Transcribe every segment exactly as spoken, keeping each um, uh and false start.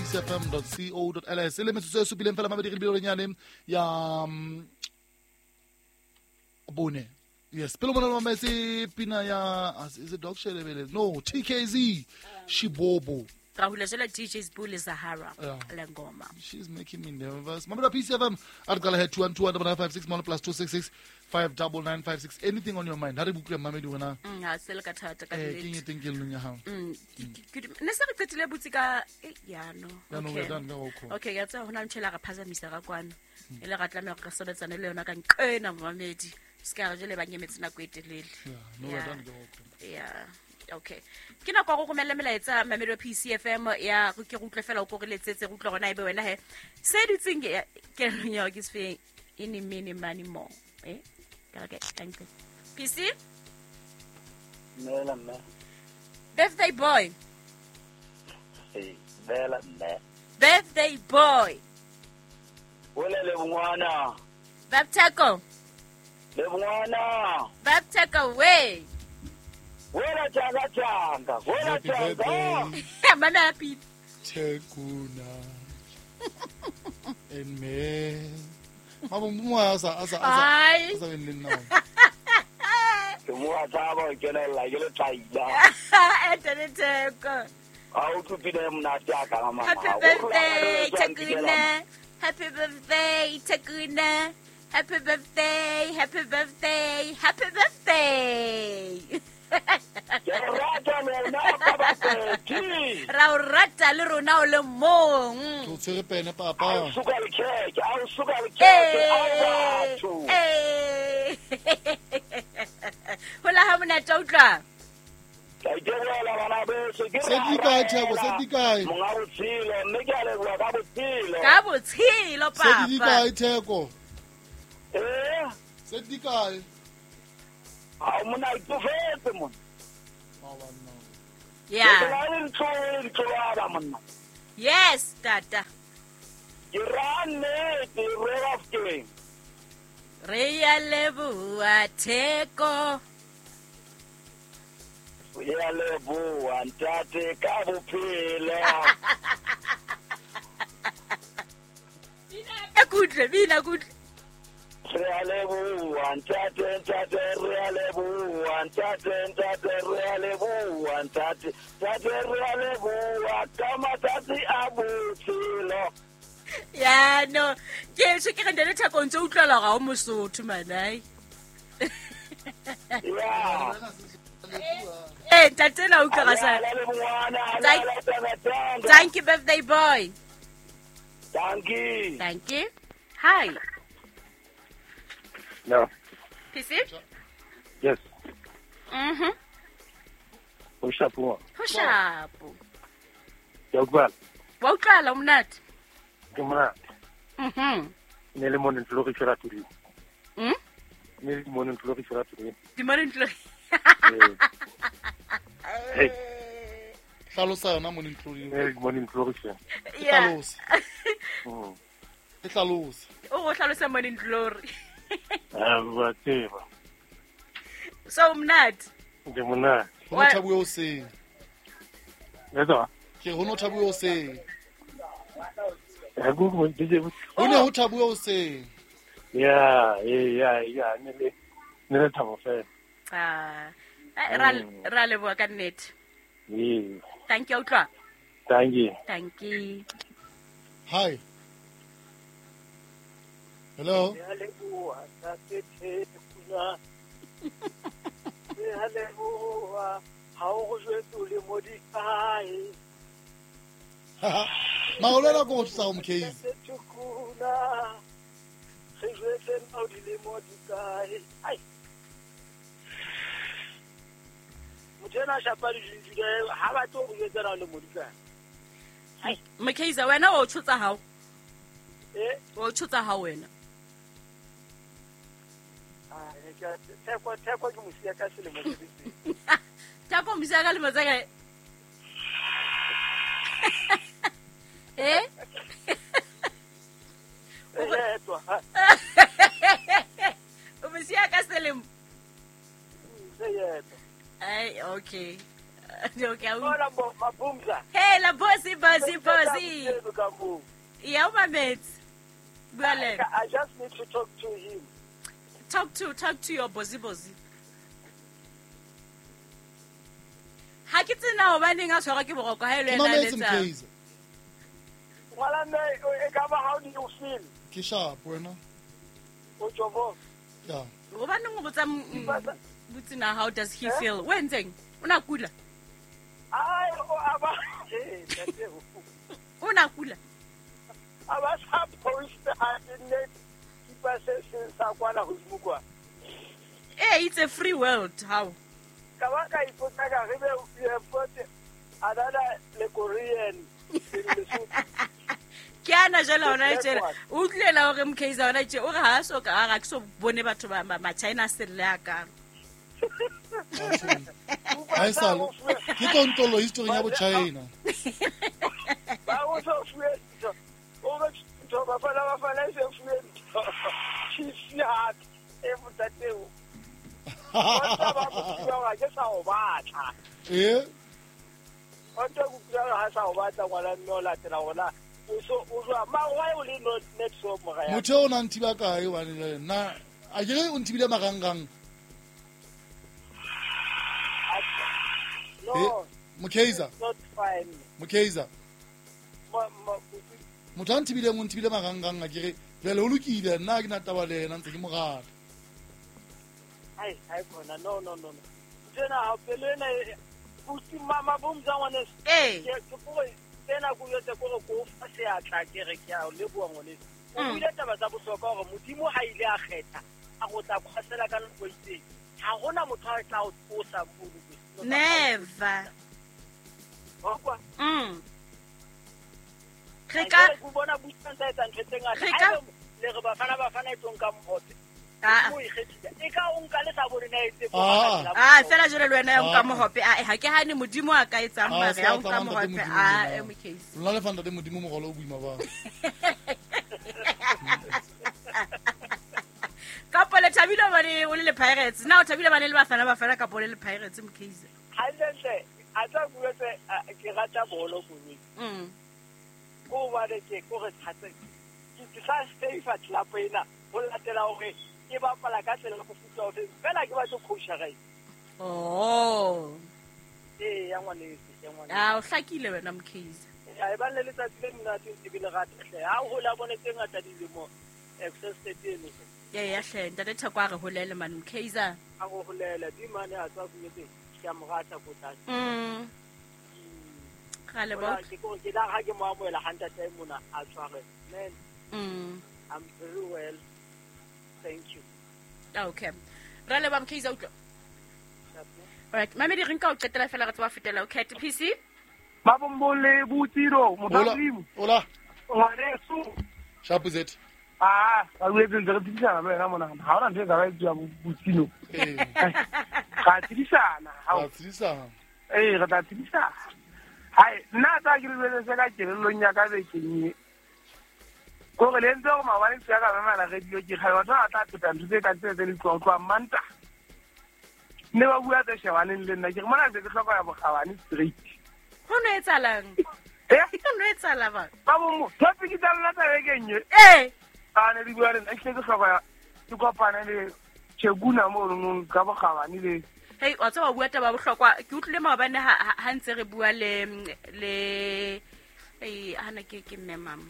P C F M dot co dot L S. E le metsotso e supileng fela mabedi re lebile ya um, bone. Yes, pele mona mametse pina ya, is it Dog Shelebele? No, T K Z Shibobo. Rahula jela D J Sbu Zahara Lengoma. She's making me nervous. Mamela P C F M at gala head two one two one nine five six one plus two six six five double nine five six. Anything on your mind? Ha re bukle mamedi wena. Mm, ha se le ka thata ka nnete. Eh, ke eng teng ya hao? Mm, ne se re qetile botsi ka ya no. Ya no, we're done ka go. Okay, ya tsa hona ntshela re phazamisa ka kwano. E le ra tlameha re sebetsane le yona ka nqena mamedi. Ska re jele ba nyemetse nako e telele. Yeah, no, we're done ka go. Yeah. Okay. Ke nako go romela melaetsa mamedi wa P C F M ya go ke go utlwe fela o ko re letsetse go utlwa gona ebe wena he. Se dutseng ke ke ya ke se ini mini money more. Eh? Ka ke thank you. P C? Mela mme. Birthday boy. Eh, mela mme. Birthday boy. Wele le ngwana. Baptako. Le ngwana. Baptako we. Wela changa changa, wela changa. Mama happy. Tekuna. En me. Mama mo asa asa asa. Asa ben nna. Ke mo a tsaba ke na la ke le tlaila. Ete teko. A o tsupile monate a ka mama. Happy birthday Tekuna. Happy birthday Tekuna. Happy birthday, happy birthday, happy birthday. Ra o rata le rona o le mong. Ke o tshwere pene papa. A o suka le kheke, a o suka le kheke, a o batho. Eh. Hola ha monate o utlwa. Ke iteboela bana beso, ke Se di kae Theko, se di kae? Monga botshelo, mme ke a leboha ka botshelo. Ka botshelo papa. Se di kae Theko? Eh? Se di kae? A mona itofetse mona. Yeah. Yes, tata. Ke rane ke re afkeng. Re ya leboha Theko. Re ya leboha ntate ka bophelo. Bina kutle, bina kutle. Re a leboha ntate, ntate, re a leboha ntate, ntate, re a leboha ntate, ntate, re a leboha ka matsatsi a botshelo. Ya no, ke se ke re ndele Theko ntse utlwala ga o Mosotho manai. Ya. Eh, ntate na utlwa ga sa. Thank you birthday boy. Thank you. Thank you. Hi. No. P C? Yes. Mhm. Ho shapo. Ho shapo. Ya utlwala. Wa utlwala monate. Ke monate. Mhm. Ne le morning glory fela today. Mhm. Ne le morning glory fela today. Di morning glory. Hey. Hlalosa yona morning glory. Ne le morning glory fela. Yeah. Hlalosa. Mhm. E hlalosa. O go hlalosa morning glory. Ah, wa tseba. So monate. Ke monate. Ho no thabuwe o seng. Etsa. Ke ho no thabuwe o seng. Ha go go D J. Ho ne ho thabuwe o seng. Ya, ya, ya, ne le ne le thabo fela. Ah. Ra ra leboha ka nnete. Ee. Thank you utlwa. Thank you. Thank you. Hi. Hello. Re a leboha ntate Tekuna. Re a leboha ha o go jwetse o le mo dikae. Maolelo go tsa o mkezi. Tekuna. Re jwetse o le mo dikae. Ai. Motho ena shapa di ha ba tlo go jwetsa le mo dikae. Ai, Mkezi wena o tshotsa hao. Eh, o tshotsa hao wena. Ah, ke Theko Theko ke mosia ka selemo se se. Theko mosia ka lemo tsa kae? Eh? O mosia ka selemo. Se yetwa. Ai, okay. Okay. Hola bo mabumza. Hey la bossy bossy bossy. Yeah, my mates. I, I just need to talk to him. Talk to talk to your bossy bossy. Ha ke tsena ho baneng a tshwara ke boroko ha ile ena letsa. Wala me e ka ba how do you feel? Ke sharp wena. O jobo. Yeah. Ho baneng o botsa botsina how does he feel? O entseng? O na kula? Ai o aba. O na kula? Aba sa post ha ne kipa se se sa kwana hodimo kwa. Eh, it's a free world how? Ka ba ka ipotsa ka re be you have got another le Korean in Lesotho. Ke ana jela hona tjela o utlwela hore Mkhize hona tje o re ha so ka ga ke so bone batho ba ma China selle ya ka. Ha salo ke tontolo history ya bo China. Ba o so fuwe o re to ba fana ba fana se fuwe. She hat e botateo. Ba ba ba ke sa o batla. Eh? O tlo go kula ha sa o batla ngwana mme o latela hona. O so o jwa ma why o le not net so mora ya. Motho o na nthiba kae hobane nna a ke re o nthibile marangrang. No. Mokeiza. Not fine. Mokeiza. Motho a nthibile o nthibile marangrang a ke re jwale o lokile nna ke na taba le yena ntse ke mo rata. Ai ai khona no no no no. Tsena ha pele ena puti mama bomza ngwane. Eh. Ke ke tsena go yetse go go fa seatla ke re ke a o leboa ngwane. O buile taba tsa bohlokwa hore modimo ha ile a kgetha a go tla khosela ka nako itseng. Ha hona motho a tla o tsosa mono. Never. Okwa. Mm. Re ka go bona butsang tsa etsa ntho tse ngata. Re ka le re bafana bafana e tsong ka mhope. Ah. O ikgethile. E ka o nka le sa bone na etse go Ah, fela jole le wena ya nka mohope. Ah, ha ke hane modimo a ka etsang mare ya nka mohope. Ah, e Mkhize. Lona le fanda le modimo mogolo o boima ba. Ka pole thabile bane o le le Pirates. Na o thabile bane le bafana bafana ka pole le Pirates Mkhize. Hantle a tla buetse ke rata bolo koloi. Mm. Ko ba le ke ko re thatse. Ke sa stay fa club ena ho latela hore ke bapala ka tsela go futsa o fela ke batlo coach ga. Oh. Eh ya ngwane ya ngwane. Ah o hlakile wena Mkhize. Ya e ba le letsatsi le monate ntse ke le rata hle. Ha o hola bone tse ngata dilemo access stadium. Ya ya hle ntate Theko a re holele man Mkhize. A go holele di mane a tswa go yetse ke a mo rata ko tlase. Mm. Ga le ba. Ke go ke la ga ke mo amoela ha ntate mona a tshware. Man. Mm. I'm very well. Thank you. Okay. Ra le ba Mkhize utlwa. All right, mame di re nka o qetela fela re tswa fetela okay P C. Ba bombole butiro modimo. Hola. Ngwaneso. Sharp Z. Ah, ba buetse ntse re tsidisana le wena mona. Ha hona ntho e ka ba etsuwa butino. Eh. Ra tsidisana. Ra tsidisana. Eh, re tla tsidisana. Hai, nna tsa ke le se ka kelellong ya ka bekeng e. Ko re le ntse go maobane se ya ka mamela radio ke kgale batho ba tla pheta ntho tse ka tse tse le tloa tloa manta. Ne ba bua tse shebaneng le nna ke re mona se ke hloka ya bokgabane straight. Ho no etsalang? Eh? Ho no etsala ba? Ba bo mo, topic tsa lona tsa bekeng e. Eh. A ne di bua le nna ke ke hloka ya ke kopane le Cheguna mo nong ka bokgabane le. Hey, wa tseba bua taba bohlokwa ke utlwile maobane ha ha ntse re bua le le eh hana ke ke mme mama.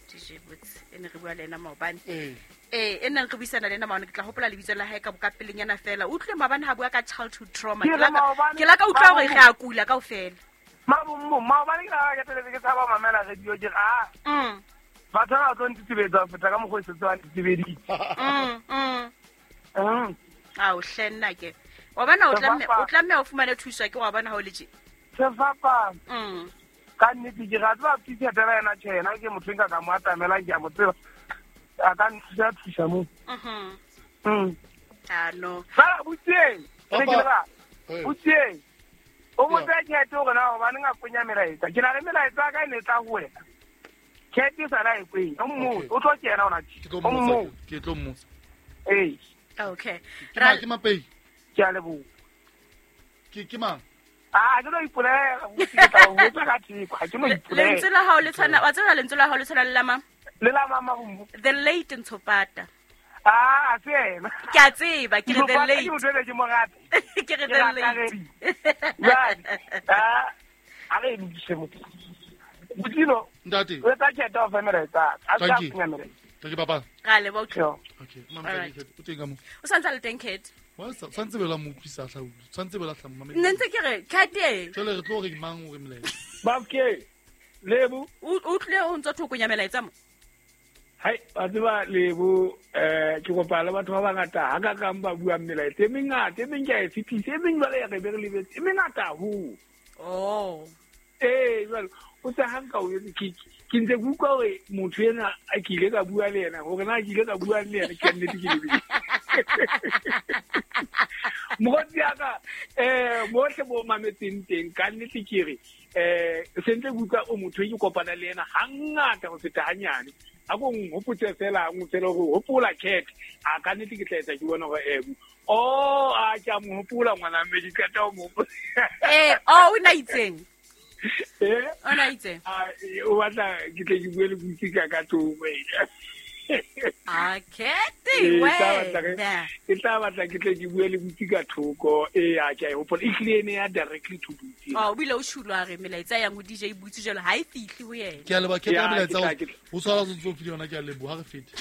D J Boots e ne re bua le ena maobane. Eh. Eh e neng re buisana le ena maobane ke tla hopola lebitso la hae ka boka pelenyana fela. O utlwile maobane ha bua ka childhood trauma. Ke la ke la ka utlwa hore re a kula kaofela. Mabombo maobane ke la ke teletse ke tshaba mamela radio ke ah. Mm. Batho ba tlo ntitibetsa feta ka mokgwa o setse ba ntitibeditse. Mm mm. Mm. Ah o hlenna ke. Wa bona o tlamme o tlamme o fumane thuso ke wa bona ha o le tje. Sefapano. Mm. Ka nnete ke rata ba phitha taba ena tjhe yena ke motho nka ka mo atamelang ke a mo tseba. A ka nthusa thusa mo. Mhm. Mm. Ah no. Fela butseng. Ke ke ba. Butseng. O botsa tjhelete hore na hobane nga konya melaetsa. Ke na le melaetsa ka e ne tla ho wena. Tjhelete sa la e kweng. O mmo o tlo kena ona tjhe. Ke tlo mmotsa. Ke tlo mmotsa. Eh. Okay. Ra ke mapei. Ke a leboha. Ke ke mang? Ah, ke no ipolela ke tla o botsa ka theko, ha ke no ipolela. Lentswe la hao le tshwana, wa tseba lentswe la hao le tshwana le la mang? Le la mama go. The late Ntshopata. Ah, a se ena. Ke a tseba, ke re the late. Ke motho ke mo rata. Ke re the late. Right. Ah, a re lokise motho. Botino. Ntate. O tla khetha o fa melaetsa. A tla funya melaetsa. Thank you, papa. Ra leboha. Okay. Mama o teng ka mo. O santse le teng Cat. Wa santse bela mo utlwisa hla. Santse bela hla mama. Nne ntse ke re Cat e. Jwale re tlo re mang o re melaetsa. Babke. Lebo. O tlile o ntse thokonya melaetsa mo. Hai, ba tseba Lebo eh ke kopa le batho ba bangata ha ka kang ba buang melaetsa e mengata, e meng ke a e fetisa, e meng jwale ya re be re lebetse, e mengata haholo. Oh. Eh, jwale o tsa hanka o etse ke ke ntse ke utlwa hore motho ena a ke ile ka bua le yena, hore na ke ile ka bua le yena ke nnete ke lebetse. Mokgotsi ya ka eh bohle bo mametseng teng ka nnete ke re eh sentse ke utlwa o motho e ke kopana le yena hangata ho feta hanyane. A ko nhopotse fela nngwe fela hore hopola Cat a ka nnete ke tla etsa ke bona hore eh oh a ke a mo hopola ngwana mme ke qeta ho mo hopola. Eh oh o na itseng? Eh o na itseng? A o batla ke tle ke bue le botsi ka ka thoko ena. A Cat wena. Ke tla batla ke tle ke bue le botsi ka thoko e a ke a e hopola e hlile ene ya directly to botsi. Oh o bile o shulwa re melaetsa yang ho D J Botsi jalo ha e fihle ho yena. Ke a leboha Cat ka melaetsa o tshwara tsontso file yona ke a leboha re fete.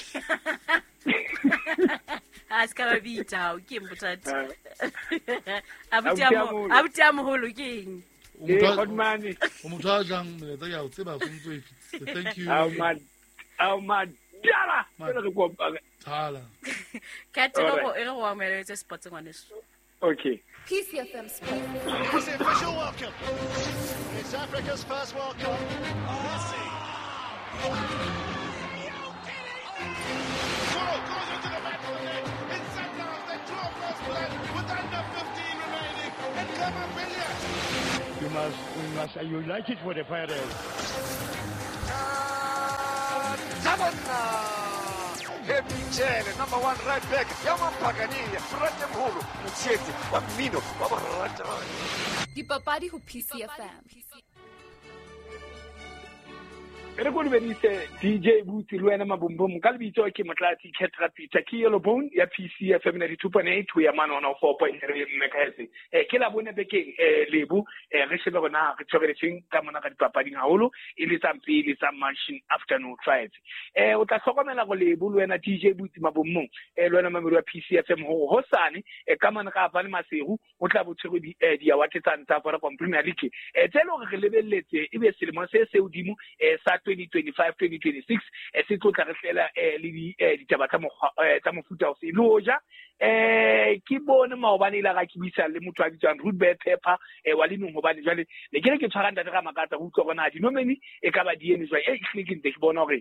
A se ka ba bitsa o ke eng bothata. Abuti a mo abuti a moholo ke eng? O motho a jang melaetsa ke a o tseba tsontso e fitse. Thank you. Ao man. Ao man. Tala. Tala. Cat e re go amoheletse sports ngwaneso. Okay. P C F M Sports. It's the official welcome. It's Africa's first World Cup. Messi. Goal goes into the back of the net. It's Sundowns. They draw first blood with under fifteen remaining. And Clement Billiard. You must, we must, you like it for the fire. Happy number one right back. Yaman Pagani, Frate Mholo, Motshetse, wa mmino, wa borata. Dipapadi ho P C F M. Re go dumedise D J Botsi le wena Mabombom ka lebitso ke Motlatsi Cat Rapita ke Yellow Bone ya P C F M ninety-two point eight ho ya mane one oh four point three megahertz. Eh ke la bone bekeng eh Lebo eh re shebe rona re tshweretseng ka mona ka dipapading haholo e le tsa pele tsa Mansion Afternoon Five. Eh o tla hlokomela go Lebo le wena D J Botsi Mabombom eh le wena mamedi wa P C F M ho hosane eh ka mane ga Avane Maseru o tla bo tshwere di di award tsa ntsa Vodacom Premier League. Eh tse le hore re lebelletse ebe selemo se se hodimo eh sa twenty twenty-five twenty twenty-six eh se tlo tla re hlela eh le di ditaba tsa tsa mofuta o se loja eh ke bone maobane ile ga ke buisa le motho a bitswang Ruth Pepper eh wa lenong hobane jwale ne ke re ke tshwara ntate ga makatsa go utlwa bona dinomeni e ka ba di eme jwang e hlile ke ntse ke bona hore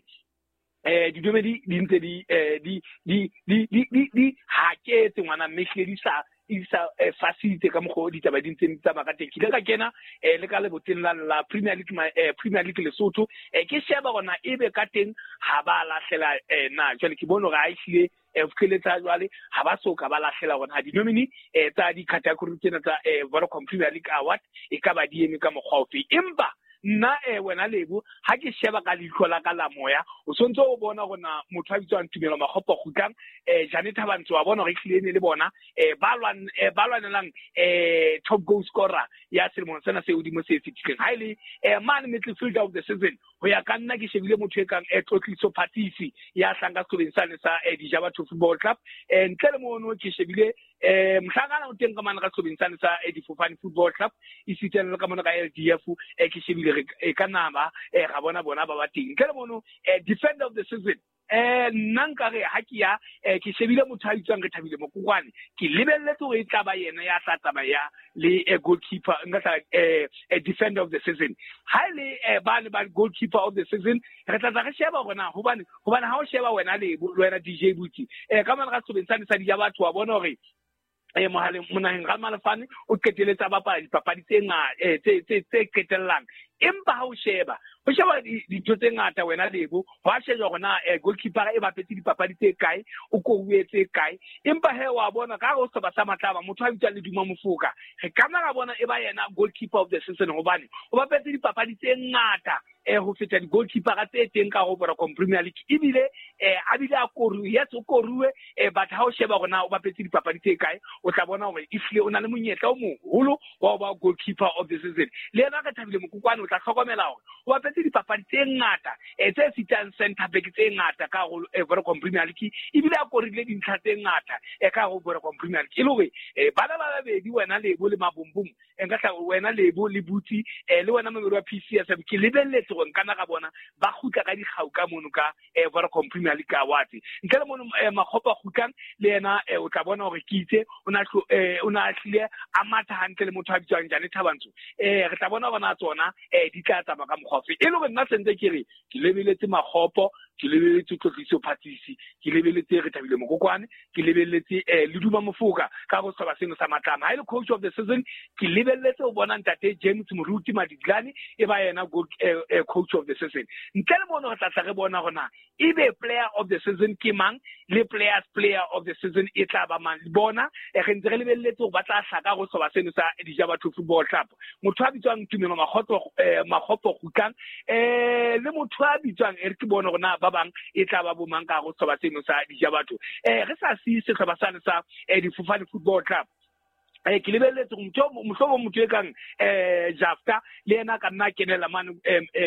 eh dinomeni di ntse di di di di di di haketse ngwana mme hlile di sa isa fasitse ka mokgwa o ditaba di ntseng di tsamaya ka teng. Ke ile ka kena eh le ka leboteng la la Premier League eh Premier League Lesotho eh ke sheba hore na ebe ka teng ha ba lahlela eh na jwale ke bone hore ha e hlile eh fihlile jwale ha ba soka ba lahlela hore ha dinomini eh tsa di-category tsena tsa eh Vodacom Premier League Award e ka ba di eme ka mokgwa ofe. Empa nna eh wena Lebo ha ke sheba ka leihlo la ka la moya o sontse o bona hore na motho a bitswang Tumelo Makgopa Kgutlang eh Janet Thabantso wa bona hore ehlile ne le bona eh ba lwan eh ba lwanelang eh top goal scorer ya selemo sena se hodimo se fetileng. Ha ile eh man midfielder of the season ho ya ka nna ke shebile motho e kang eh Tlotliso Phatisi ya hlanka sekolong sane sa eh Dijabatho Football Club eh ntle le mono ke shebile eh mohlangana o teng ka mane ka sekolong sane sa eh Difofane Football Club e siteng le ka mona ka L D F eh ke shebile e ka nama eh ga bona bona ba ba teng ntle le mono eh defender of the season eh nna nkare ha ke ya eh ke shebile motho a bitswang re Thabile Mokokwane ke lebelletse hore e tla ba yena ya tla tsamaya le eh, goalkeeper nka tla eh defender of the season. Ha le eh ba le ba goalkeeper of the season re tla tla re sheba hore na hobane hobane ha o sheba wena le wena D J Botsi eh ka mane ga sebeng sane sa di ya batho wa bona hore eh mohaleng monaheng ga Malefane o qeteletse ba bapala dipapadi tse ngata tse tse tse qetellang Empa ha o sheba o sheba dintho tse ngata wena Lebo, wa sheba hore na goalkeeper e bapetse dipapadi tse kae, o koruwe tse kae. Empa he wa bona ka go sehlopha sa Matlaba motho a bitswang Leduma Mofoka, re ka nna ra bona e ba yena goalkeeper of the season hobane o bapetse dipapadi tse ngata eh ho feta di-goalkeeper tse teng ka ho Vodacom Premier League. Ebile eh a bile a koruwe, yes o koruwe, eh but ha o sheba hore na o bapetse dipapadi tse kae, o tla bona hore ehlile o na le monyetla o moholo wa ho ba goalkeeper of the season. Le yena re Thabile Mokokwane o tla hlokomela hore o bapetse dipapadi tse ngata eh tse sitang center back tse ngata ka ho Vodacom Premier League, ebile a korile dintlha tse ngata eh ka ho Vodacom Premier League. E le hore eh bana ba babedi wena Lebo le Mabumbum, nka tla wena Lebo le Buti eh le wena Mamedi wa P C F M, ke lebelletse hore nka na ka bona ba kgutla ka dikgau ka mono ka eh Vodacom Premier League Awards. Ntle le mono Makgopa kgutlang le yena o tla bona hore ke itse o na o na hlile a matha hantle le motho a bitswang Jane Thabantso. Eh re tla bona bona tsona eh di tla tsamaya ka mokgwa ofe. E le hore nna sentse ke re ke lebeletse Makgopo, ke lebeletse Tlotliso Phatsisi, ke lebeletse re Thabile Mokokwane, ke lebeletse eh Leduma Mofoka ka go sehlopha seno sa Matlama. Ha e le coach of the season ke lebeletse ho bona ntate James Moruti Madiglane e ba yena coach of the season. Ntle le mono re tla tla re bona hore na ebe player of the season ke mang le players player of the season e tla ba mang. Bona re ntse re lebeletse hore ba tla hlaka go sehlopha seno sa Dijabatho Football Club. Motho a bitswang Tumelo Makgotso eh Makgopo kgutlang eh le motho a bitswang e re ke bona hore na ba bang e tla ba bomang ka go sehlopha seno sa Dijabatho. Eh re sa siye sehlopha sane sa Difofane Football Club. Eh ke lebelletse motho mohlobo motho e kang eh Jafta le yena ka nna kenela mane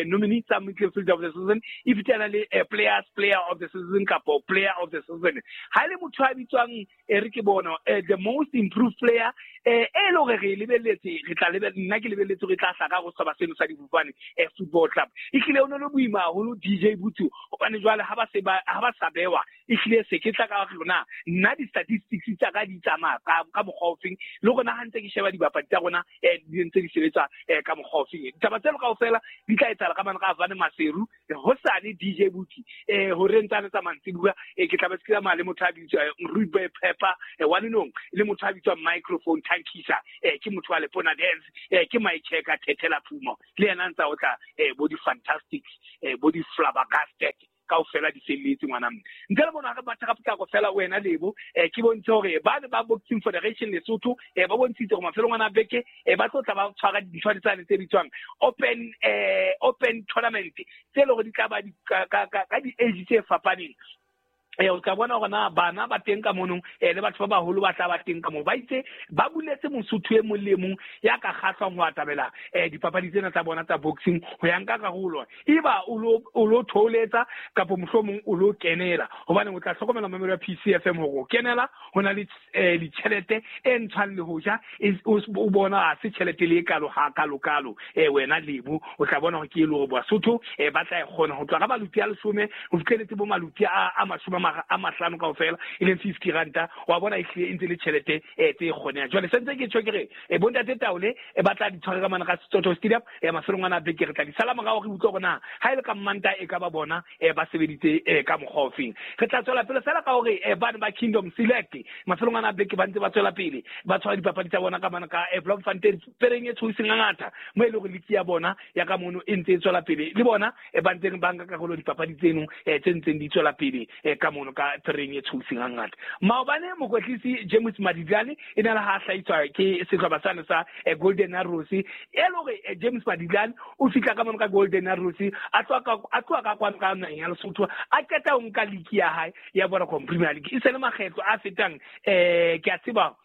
nominee tsa midfielder of the season, e fitana le players player of the season kapo player of the season. Ha le motho a bitswang e re ke bona the most improved player eh e le hore re lebelletse re tla lebella nna ke lebelletse re tla hlaka go sehlopha seno sa Difofane Football Club. Ehlile o ne le boima haholo D J Buthu hobane jwale ha ba se ba ha ba sa bewa ehlile se ke tla ka rona nna di statistics tsa ka di tsamaya ka ka mokgwa ofeng le rona ha ntse ke sheba dibapadi tsa rona eh di ntse di sebetsa eh ka mokgwa ofeng. Ditaba tseno kaofela di tla etsahala ka mane ka Avane Maseru hosane D J Buti eh hore ntsane tsa mantsibuya eh ke tla ba se tsamaya le motho a bitswa Ruby Pepper eh wa Lenong le motho a bitswa Microphone Tankisa eh ke motho wa Lepona Dance eh ke Mike Checker Thethela Phumo le yena ntsa o tla eh bo di Fantastics eh bo di Flabbergasted kaofela di felletse ngwana mme. Ntle le bona re batla ka potlako fela wena Lebo eh ke bontshe hore ba ne ba Boxing Federation Lesotho eh ba bontshitse hore mafelong ana beke eh ba tlo tla ba tshwara dintho tsane tse bitswang open eh open tournament tse le hore di tla ba ka ka ka di age tse fapaneng. Eh o tla bona hore na bana ba teng ka monong eh le batho ba baholo ba tla ba teng ka mo ba itse ba buletse mosotho e mong le mong ya ka kgahlwang ho atabela eh dipapadi tsena tsa bona tsa boxing ho ya nka karolo eba o lo o lo tholetsa kapa mohlomong o lo kenela hobane o tla hlokomela mamelo ya P C F M hore o kenela ho na le ditjhelete e ntshwang le ho ja o bona ha se tjhelete le e kalo ha kalo kalo eh wena Lebo o tla bona hore ke e le hore Basotho eh ba tla e kgona ho tloha ka maluti a leshome ho fihleletse bo maluti a a mashome a mahlano kaofela e leng fifty ranta wa bona ehlile e ntse le tjhelete eh tse kgonehang. Jwale sentse ke tjho ke re eh bontate Taole e batla di tshware ka mana ka Setsotho Stadium eh mafelong ana beke re tla di sala morao re utlwe hore na ha ile ka mmanta e ka ba bona eh ba sebeditse eh ka mokgwa ofeng. Re tla tswela pele fela ka hore eh bana ba Kingdom Select mafelong ana beke ba ntse ba tswela pele ba tshwara dipapadi tsa bona ka mana ka eh Bloemfontein pereng e tshoiseng ngata mo e le hore liki ya bona ya ka mono e ntse e tswela pele le bona e ba ntseng ba nka karolo dipapadi tseno eh tse ntseng di tswela pele eh ka mono ka tereng e tshoseng hangata. Maobane mokwetlisi James Madiglane e ne le ha hlahiswa ke sehlopha sane sa Golden Arrows e le hore James Madiglane o fihla ka mono ka Golden Arrows a tloha ka a tloha ka kwano ka naheng ya Lesotho a qeta ho nka liki ya hae ya Vodacom Premier League e se le makgetlo a fetang eh ke a tseba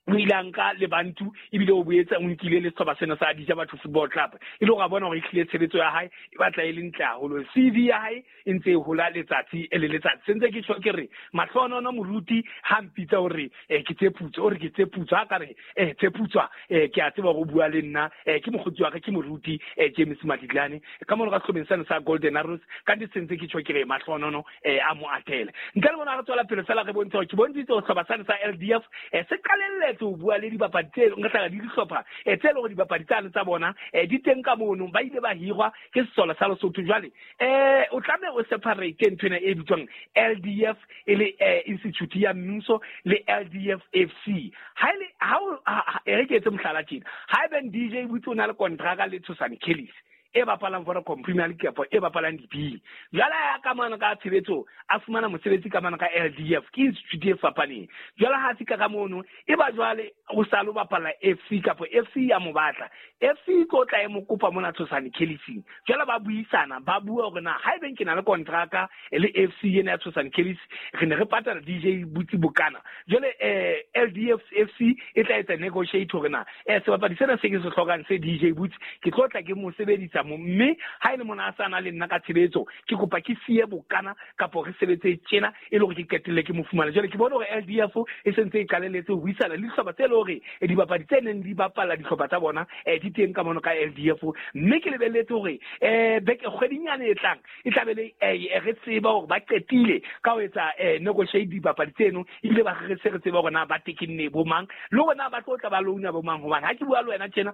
o ile a nka Lebantu ebile o boetse o nkile le sehlopha sena sa Dijabatho Football Club e le hore a bona hore ehlile tshebetso ya hae e batla e le ntle haholo. C V ya hae e ntse e hola letsatsi le letsatsi. Sentse ke tjho ke re mahlonono moruti ha mpitsa hore eh ke Tseputso o re ke Tseputso ha ka re eh Tseputswa eh ke a tseba hore o bua le nna eh ke mokgotsi wa ka ke moruti eh James Madiglane ka mono ka sehlopheng sena sa Golden Arrows ka di sentse ke tjho ke re mahlonono eh a mo atele. Ntle le bona re tswela pele fela re bontshe hore ke bontshitse hore sehlopha sena sa L D F eh se qalelle ho bua le dibapadi tse nka tla di dihlopha eh tse le hore dibapadi tsane tsa bona eh di teng ka mono ba ile ba hirwa ke sesole sa Lesotho. Jwale eh o tlameha o separate ntho ena e bitswang L D F e le institute ya mmuso le L D F F C. Ha ile ha e re ke etse mohlala tjena ha eben D J Butse o na le kontraka le Tshosane Kellis e bapalang Vodacom Premier League kapa e bapalang di-B. Jwale ya ka mano ka tshebetso a fumana mosebetsi ka mano ka L D F ke institute e fapaneng. Jwale ha fika ka mono e ba jwale o sa lo bapala F C kapa F C ya mo batla. F C e tlo tla e mo kopa mona Tshosane Kelly's. Jwale ba buisana ba bua hore na haebe ke na le kontraka le F C ena ya Tshosane Kelly's re ne re patala D J Butsi bokana. Jwale eh L D F F C e tla etsa negotiate hore na eh sebapadi sena se ke se hlokang se D J Butsi ke tlo tla ke mo sebedisa mo mme ha ile mona a sa na le nna ka tshebetso ke kopa ke siye bokana kapa re sebetse tjena e le hore ke qetelle ke mo fumana. Jwale ke bona hore L D F e sentse e qalelletse ho buisana le dihlopha tse le hore dibapadi tse neng di bapala dihlopha tsa bona eh di teng ka mono ka L D F mme ke lebelletse hore eh beke kgwedinyane e tlang e tla be le re tseba hore ba qetile ka ho etsa negotiate dibapadi tseno ebile ba re se re tseba hore na ba tekenne bo mang le hore na ba tlo tla ba louna bo mang hobane ha ke bua le wena tjena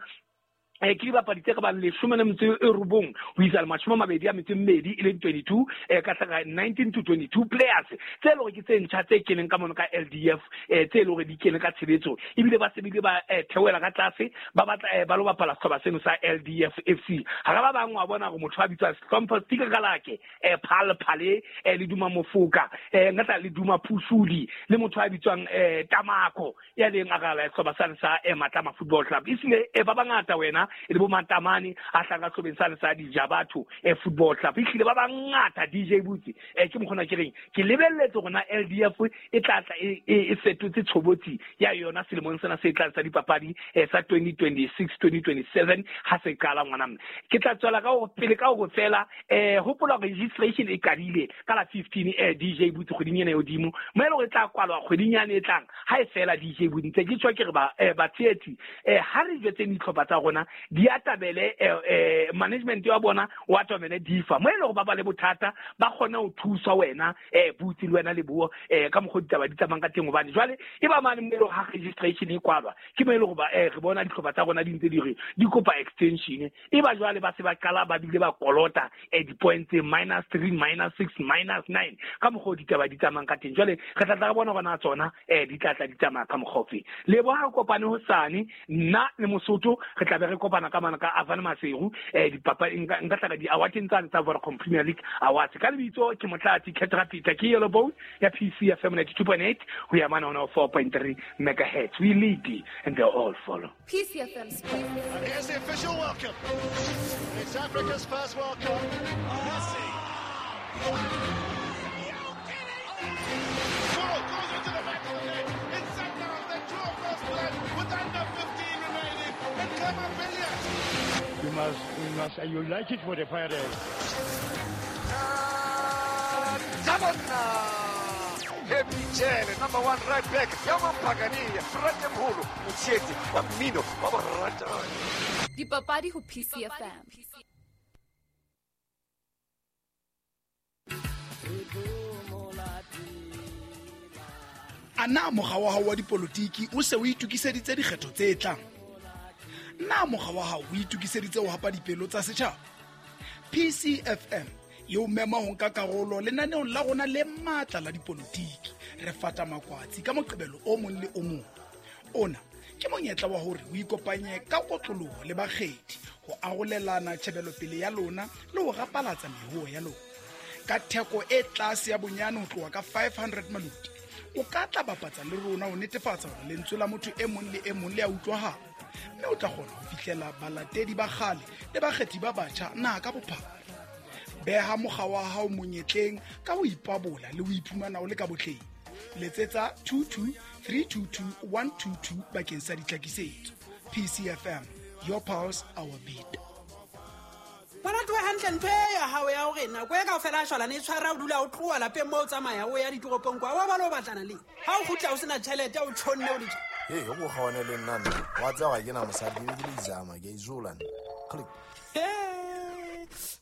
eh ke dibapadi tse ka bang leshome le metso e robong ho isa le mashome a mabedi a metso e mmedi e leng twenty-two eh ka hlaka nineteen to twenty-two players tse le hore ke tse ntjha tse keneng ka mono ka L D F eh tse le hore di kene ka tshebetso ebile ba sebile ba theohela ka tlase ba batla ba lo bapala sehlopha seno sa L D F F C. Ha ba bang wa bona hore motho a bitswa Hlompho Stikalake eh Phal Phale eh le Duma Mofoka eh ngatla le Duma Phusudi le motho a bitswang eh Tamako ya leng a gala sehlopha sane sa Matlama Football Club isile e ba bangata wena e le bo Matamane a hlanga hlobeng sane sa Dijabatho e Football Club ehlile ba bangata D J Butsi eh ke mokgona ke reng ke lebelletse hore na L D F e tla tla e fetotse tshobotsi ya yona selemong sena se tlang sa dipapadi sa twenty twenty-six twenty twenty-seven ha se qala ngwana mme ke tla tswela ka ho pele ka ho fela eh hopola registration e qadile ka la fifteen eh D J Butsi kgweding ena e hodimo mo e le hore e tla kwalwa kgweding yane e tlang ha e fela D J Butsi ntse ke tswa ke re ba batshehetsi eh ha re jwetseng dihlopha tsa rona di atabele eh management ya bona wa atabele difa mo e le hore ba ba le bothata ba kgone ho thusa wena eh Butsi le wena le buo eh ka mokgwa ditaba di tsamang ka teng hobane jwale e ba mane mo e le ha registration e kwalwa ke mo e le hore ba eh re bona dihlopha tsa rona di ntse di re di kopa extension e ba jwale ba se ba qala ba bile ba kolota eh di points minus three minus six minus nine ka mokgwa ditaba di tsamang ka teng jwale re tla tla bona bona tsona eh di tla tla di tsamaya ka mokgwa ofe le bo ha kopane hosane nna le Mosotho re tla be re kopana ka mana ka Avane Maseru eh dipapadi nka tla di awarding tsa tsa Vodacom Premier League awards ka lebitso ke Motlatsi Ketra Peter ke Yellow Bone ya P C F M ninety-two point eight ho ya mana one oh four point three megahertz. We lead and they all follow. P C F M Sports. And here's the official welcome. It's Africa's first World Cup. Messi. Ball goes into the back of the net. It's Sundowns that draw first blood with under fifteen remaining. And Clement Billiard. You must, you must, you like it for the Pirates. Happy Jele, number one right back. Yaman Pagania, Fratemholo, Mutseti, wa mmino wa borata. Dipapadi ho P C F M. Ana mokga wa hao wa dipolotiki o se o itokiseditse dikgetho tse tlang? Na mokga wa hao o itokiseditse ho hapa dipelo tsa setjhaba? P C F M e o mema ho nka karolo lenaneong la rona le matla la dipolotiki. Re fata makwatsi ka Moqebelo o mong le o mong. Ona ke monyetla wa hore o ikopanye ka kotloloho le bakgethi ho arolelana tjhebelopele ya lona le ho rapalatsa mehuo ya lona. Ka theko e tlase ya bonyane ho tloha ka five hundred maluti, o ka tla bapatsa le rona ho netefatsa hore lentswe la motho e mong le e mong le a utlwahala, mme o tla kgona ho fihlela balatedi ba kgale le bakgethi ba batjha naha ka bophara. Beha mokga wa hao monyetleng ka ho ipabola le ho iphumana o le ka botleng. Letsetsa two two three two two one two two bakeng sa ditlhakisetso. P C F M, your pulse, our beat. Bona tloha hantle ntho e ya hao ya hore nako e kaofela a shwalane e tshwara o dula o tloha lapeng moo o tsamaya o ya ditoropong kwa wa ba lo batlana le ha o kgutla o sena tjhelete o tjhonne o le tje. Hey, o go kgaone le nna nna. Wa tseba ga ke na mosadi ke le izama ke izola nna. Click.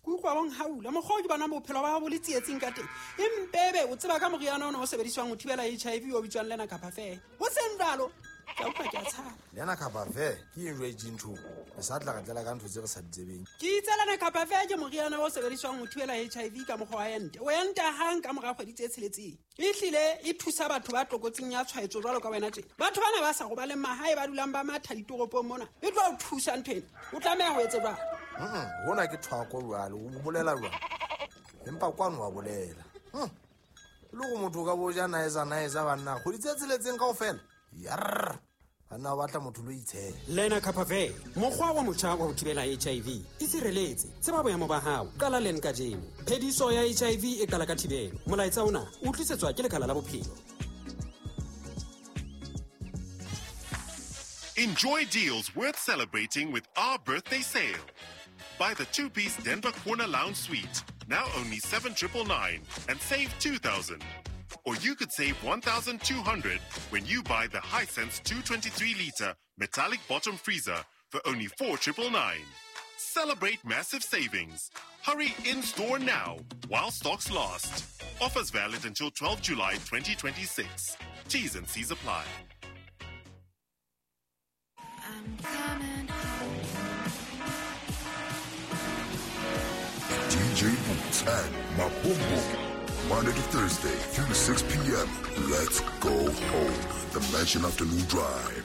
Ke utlwa bong haula mokgwa o ke bona bophelo ba hao bo le tsietsing ka teng. Empebe o tseba ka moriana ona o sebediswang ho thibela H I V o bitswang Lena Kapa Fair. Ho seng jwalo ke a utlwa ke a tshaba. Lena Kapa Fair ke eng jwale ntho? Re sa tla re tlela ka ntho tse re sa di tsebeng. Ke itse Lena Kapa Fair ke moriana o sebediswang ho thibela H I V ka mokgwa wa ente. O enta hang ka mora kgwedi tse tsheletseng. Ehlile e thusa batho ba tlokotsing ya tshwaetso jwalo ka wena tjena. Batho bana ba sa robaleng mahae ba dulang ba matha ditoropong mona. E tlo o thusa ntho ena. O tlameha ho etsa jwang? Mm, hona ke thwako jwale, o bolela jwang? Empa kwano wa bolela. Mm. Le go motho ka bo ja naesa naesa banna, kgwedi tse tsheletseng kaofela. Yarr. Banna ba batla motho lo itshela. Lenacapavir, mokgwa wa motjha wa ho thibela H I V. Itshireletse, tseba boemo ba hao, qala len kajeno. Phediso ya H I V e qala ka thibelo. Molaetsa ona o tlisetswa ke Lekala la Bophelo. Enjoy deals worth celebrating with our birthday sale. Buy the two-piece Denver Corner Lounge Suite, now only seven triple nine, and save two thousand. Or you could save one thousand two hundred when you buy the Hisense two twenty-three liter metallic bottom freezer for only four triple nine. Celebrate massive savings. Hurry in-store now while stocks last. Offers valid until twelfth July twenty twenty-six. T's and C's apply. I'm coming home. D J Boots and Mabumbo, Monday to Thursday, three to six p m. Let's go home. The Mansion Afternoon Drive.